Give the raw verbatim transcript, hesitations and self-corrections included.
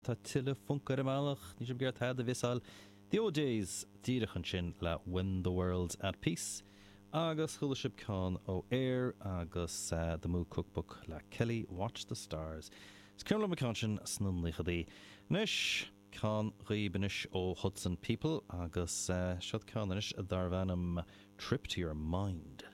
Tá tuilleadh func ar an mbealach, níl sibh ag iarraidh tada a mhissáil. The O'Jays díreach ansin le When the World's at Peace agus chuala sibh ceann ó Air agus The Moo Cookbook le Kelly Watch the Stars. Is cuimhin liom an ceann sin sna naochadaí. Anois, ceann dhaoibh anois ó Hudson People agus seod ceann anois darbh ainm Trip to Your Mind.